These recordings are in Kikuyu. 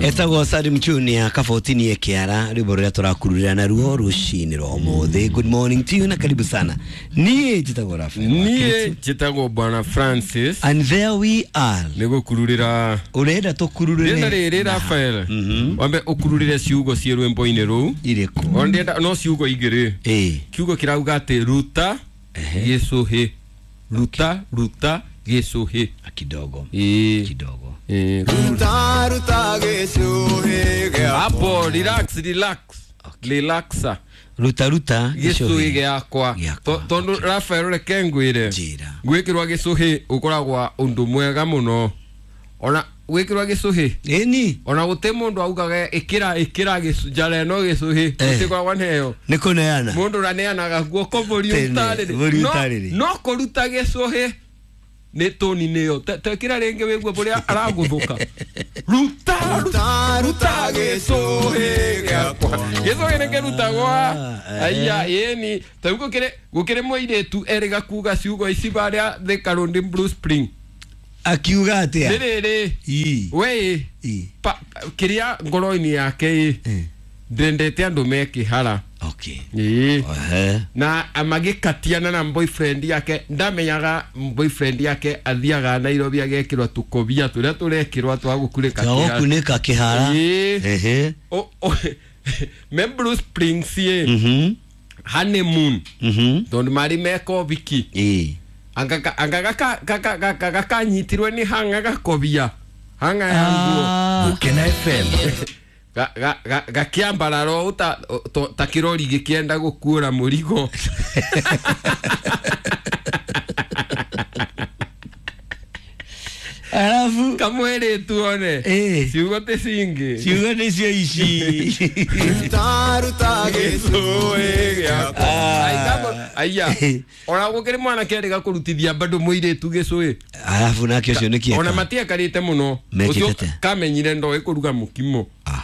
Etagwo Salim Junior kabotini ekiara rwimbo ruria turakururira naruo rucini rwa umuthi. Good morning to you na karibu sana. Niĩ njĩtagwo Rafael Niĩ njĩtagwo Bwana Francis. And there we are. Nĩ gũkururĩra. Ũrenda tũkururĩre Ndĩrenda rĩrĩ Rafael. Wambe ũkururĩre ciugo ciĩ rwĩmbo-inĩ rũu. Irĩkũ? Ona ndĩrenda no ciugo igĩrĩ. Ĩĩ. Kiugo kĩrauga atĩ ruta gĩcũhĩ. Ruta ruta gĩcũhĩ. Kidogo. Ĩĩ. Kidogo. Ĩĩ. Ruta ruta gĩcũhĩ gĩakwa. Hapo relax relax. Relaxa. Ruta ruta Gĩcũhĩ gĩakwa. Gĩakwa, Tondũ Rafael reke ngwĩre. Njĩra. Gwĩkĩrwo gĩcũhĩ ũkoragwa ũndũ mwega mũno. Ona gwĩkĩrwo gĩcũhĩ Ĩni. ona gũtĩ mũndũ augaga ĩkĩra ĩkĩra njara ĩno gĩcũhĩ gũtikoragwa neo Nĩ kũneana. mũndũ ũraneanaga guoko mbũri Tene, ũtarĩrĩ. mbũri No- ũtarĩrĩ. no kũruta gĩcũhĩ nĩ tũni nĩyo tekĩra rĩngĩ wĩgue bũrĩa aragũthũka ruta Ruta ruta gĩcũhĩ gĩakwa. gĩcũhĩ nĩ kĩrutagwa aya ĩni tarĩu gũkĩrĩ mũirĩtu erĩga kuga ciugo ici barĩa Thika Road Blue Spring Akiuga atĩa? nĩ rĩrĩ Ii. we Ii. kĩrĩa ngoro-inĩ yake ĩ ndendete andũ me kĩhara. Okay. Ĩĩ. Ehe. Na magĩkatiana na boyfriend yake ndamenyaga boyfriend yake athiaga Nairobi agekĩrwo tũkobia tũrĩa tũrekĩrwo twa gũkunĩka kĩhara. Twa gũkunĩka kĩhara. Ĩĩ. Ehe. Me Blue Springs ĩ honeymoon tondũ marĩ meka ũhiki. Ĩĩ. Anga gakanyitirwe nĩ hanga gakobia hanga ya nguo. Gukena FM. Gakĩambarara ũũ ta kĩrori gĩkĩenda gũkuũra mũrigo. Alafu Kamwĩrĩtu one. Ĩĩ. Ciugo ti cingĩ. Ciugo nĩcio ici. Ruta ruta gĩcũhĩ gĩakwa. Aya ona gũkĩrĩ mwanake erĩga kũrutithia bado mũirĩtu gĩcũhĩ. Alafu nake ũcio nĩ kĩeka. Ona matiakarĩte mũno. Mekĩte Ũcio atĩa? kamenyire ndoĩ kũruga mũkimo. Ah.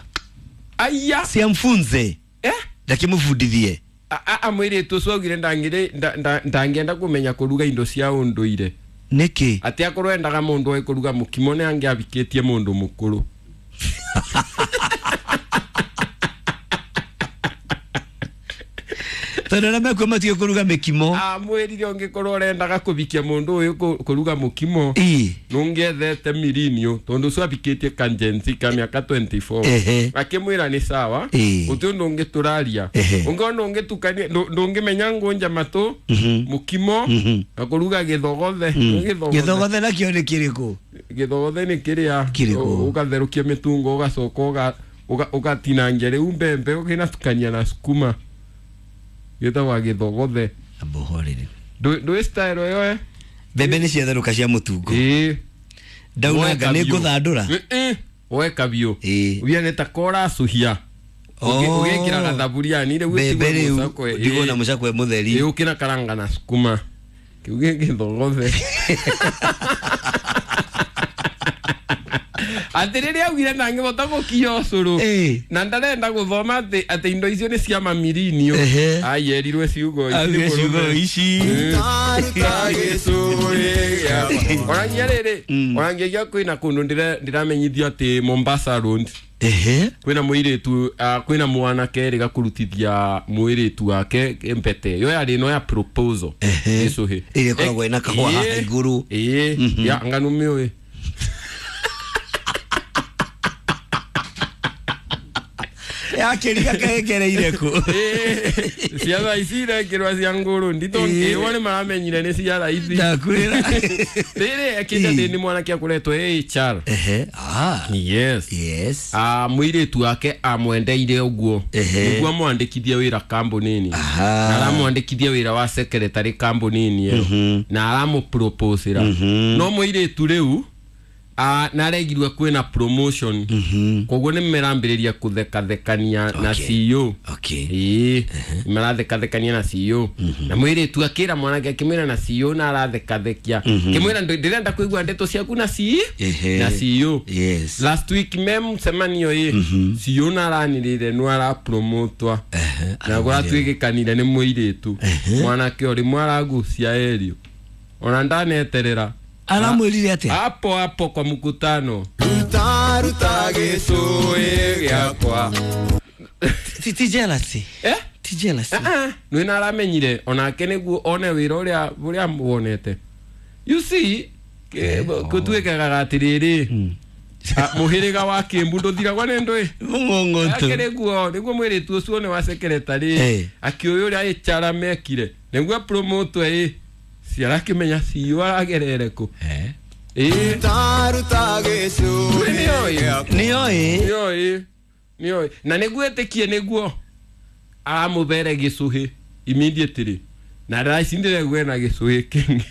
Aya. Siamfunze. Eh? Ndakĩmũbundithie. Amwĩrĩtu ũcio augire ndangĩenda kũmenya kũruga indo cia ũndũire. Nĩkĩ? Atĩ akorwo endaga mũndũ oĩ kũruga mũkimo nĩ angĩabikĩtie mũndũ mũkũrũ. Tondũ arĩa mekuo matige kũruga mĩkimo. Amwĩrire ũngĩkorwo ũrendaga kũbikia mũndũ ũyũ kũruga mũkimo Ĩĩ. nũngĩethete mirinio tondũ ũcio abikĩtie kanjenzi ka mĩaka 24. Ehe. Akĩmwĩra nĩ sawa. Ĩĩ. Gũtirĩ ũndũ ũngĩ tũraria. Ehe. Ũngĩona ndũngĩtukania ndũngĩmenya ngũnja matũ mũkimo na kũruga gĩthogothe. Gĩthogothe. Gĩthogothe nakĩo nĩ kĩrĩkũ? Gĩthogothe nĩ kĩrĩa Kĩrĩkũ? ũgatherũkia mĩtungo ũgacoka ũgatinangia rĩu mbembe ũkĩnatukania na sukuma. Gĩtagwa gĩthogothe. Amba ũhorere. Ndũĩ style ĩyo eh? Mbembe nĩ ciatherũka cia mũtungo. Ĩĩ. Ndaunanga nĩ ngũthandũra. Weka biũ. Ĩĩ. Ubia nĩ ta koracũhia. Oh. Ũgĩkĩra gathaburia-inĩ rĩu Mbembe ũtigwo rĩu mũcakwe. ndigwo na mũcakwe mũtheri. Ĩĩ ũkĩnakaranga na sukuma. Kĩu gĩ gĩthogothe. Atĩ rĩrĩa augire ndangĩhota gũkia ũcũrũ. Ĩĩ. Na ndarenda gũthoma atĩ indo icio nĩ cia mamirinio. Ehe. Ayerirwe ciugo ici. Augire ciugo ici. Ruta ruta gĩcũhĩ gĩakwa. Orangia rĩrĩ, orangia kwĩna kũndũ ndĩramenyithio atĩ Mombasa Road. Ehe. Kwĩna mũirĩtu kwĩna mwanake erĩga kũrutithia mũirĩtu wake mbete yo yarĩ ĩno ya proposal. Ehe. Gĩcũhĩ. Ĩrĩa ĩkoragwo ĩna kahũa haha igũrũ. Ĩĩ, ya ngano mĩũĩ. Yakĩriga kahengereire kũ? Ĩĩ, cia thaa ici irekĩrwo cia ngũrũ nditũ Ĩĩ. ĩĩ nĩ maramenyire nĩ cia raithi. Ndakwĩra. Rĩrĩ ekĩte atĩ nĩ mwanake akoretwo HR. Ehe. Ah. Yes. Yes. Mũirĩtu wake amwendeire ũguo. Ehe. Nĩguo amwandĩkithie wĩra kambuni-inĩ. Aha. Na aramwandĩkithia wĩra wa secretary kambuni-inĩ ĩyo. Na aramũproposera. No mũirĩtu rĩu naregirwe kwĩna promotion. Koguo nĩ merambĩrĩria kũthekathekania na Okay. CEO. Okay. Ĩĩ, marathekathekania na CEO. Na mũirĩtu akĩra mwanake akĩmwĩra na CEO na arathekathekia. Akĩmwĩra ndĩrenda kũigua ndeto ciaku na CEO. Ehe. Na CEO. Yes. Last week me mũcemanio ĩ CEO naranĩrĩire nĩ arapromotwa. Na kũratuĩkĩkanire nĩ mũirĩtu. Mwanake ũrĩ mwaragucia erio. Ona ndaneterera. Aramwĩrire atĩa? Hapo hapo kwa mkutano. Ruta Ruta gĩcũhĩ gĩakwa. Ti jealousy. Eh? Ti jealousy. Nĩ na aramenyire onake nĩguo one wĩra ũrĩa wonete. You see, gũtuĩkaga atĩrĩrĩ, mũhĩrĩga wa Kĩmbu ndũthiragwo nĩ ndũĩ. Mũng'ong'oto. Ake nĩguo mwĩrĩtu ũcio nĩ wa secretary akĩũĩ ũrĩa HR mekire nĩguo promote ĩ ciarakĩmenya CEO aragerere kũ. Ruta gĩcũhĩ gĩakwa. Nĩoĩ. Nĩoĩ. Na nĩguo ĩtĩkie nĩguo aramũthere gĩcũhĩ immediately na ndacindire gwena gĩcũhĩ kĩngĩ.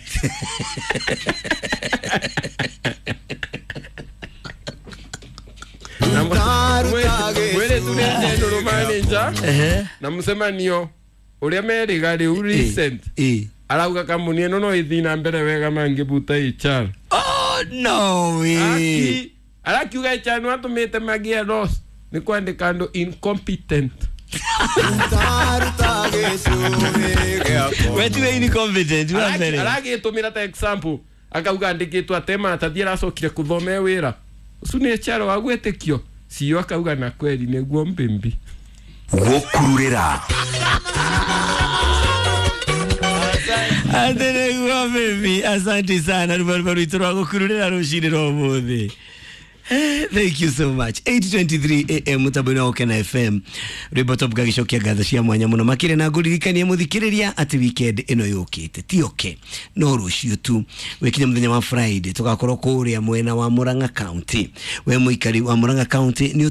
Mwĩrĩtu nĩ general manager na mũcemanio ũrĩa merĩga rĩu recent arauga kambuni ĩno no ĩthiĩ na mbere wega mangĩbuta HR. Oh no way. Arakiuga HR nĩ atũmĩte magĩe loss nĩ kwandĩka andũ incompetent. Ruta gĩcũhĩ gĩakwa. We tiwe incompetent wa mbere. Aragĩtũmĩra ta example akauga andĩkĩtwo atema tathiĩ aracokire kũthome wĩra ũcio nĩ HR wa gwĩtĩkio. CEO akauga na kweli nĩguo mbimbi. Gũkururĩra. Ate nĩguo mbimbi. Asante sana rũbaruba rwitũ rwa gũkururĩra rũcinĩ rwa ũmũthĩ. Thank you so much. 8:23 AM mutambo-inĩ wa Gũkena FM. Rwĩmbo top gagĩcokia ngatho cia mwanya mũno makĩria na ngũririkanie mũthikĩrĩria atĩ weekend ĩno yũkĩte ti oke no rũciũ tu wĩkinya mũthenya wa Friday tũgakorwo kũrĩa mwena wa Murang'a County. We mũikari wa Murang'a County nĩ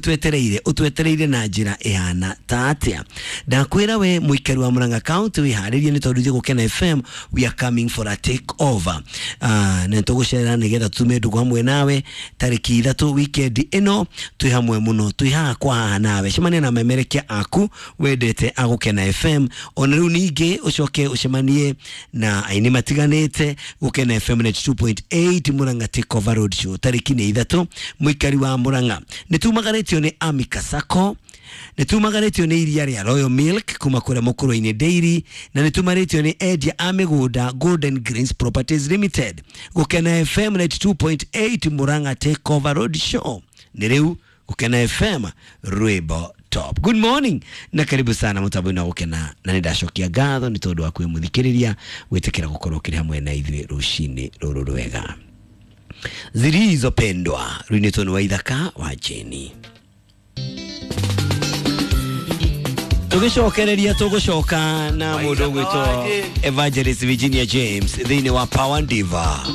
ũtwetereire na njĩra ĩhana ta atĩa? Ndakwĩra we mũikari wa Murang'a County wĩharĩrie nĩ tondũ ithuĩ Gũkena FM we are coming for a take over. Na tũgũcerera nĩgetha tume ndũgũ hamwe nawe tarĩki 3 weekend ĩno twĩ hamwe mũno twĩ haha kwa haha nawe cemania na memerekia aku wendete a Gũkena FM ona rĩu ningĩ ũcoke ũcemanie na aini matiganĩte Gũkena FM 92.8 Murang'a Takeover Road Show tarĩki nĩ 3 mũikari wa Murang'a. Nĩ tumagarĩtio nĩ Amika Sacco, nĩ tumagarĩtio nĩ iria rĩa Royal Milk kuma kũrĩa Mũkũrũ-inĩ Dairy, na nĩ tumarĩtio nĩ endia a mĩgũnda Golden Greens Properties Limited. Gũkena FM 92.8 Murang'a Takeover Road Show nĩ rĩu Gũkena FM rwĩmbo top. Good morning na karibu sana mutambo-inĩ wa Gũkena, na nĩ ndacokia ngatho nĩ tondũ wa kwĩmũthikĩrĩria gwĩtĩkĩra gũkorwo ũkĩrĩ hamwe na ithuĩ rũcinĩ rũrũ rwega. Zilizopendwa rwinĩtwo nĩ Waithaka wa Jeni. Tũgĩcokereria tũgũcoka na mũndũ ũgwĩtwo Evangelist Virginia James thĩinĩ wa Power Diva.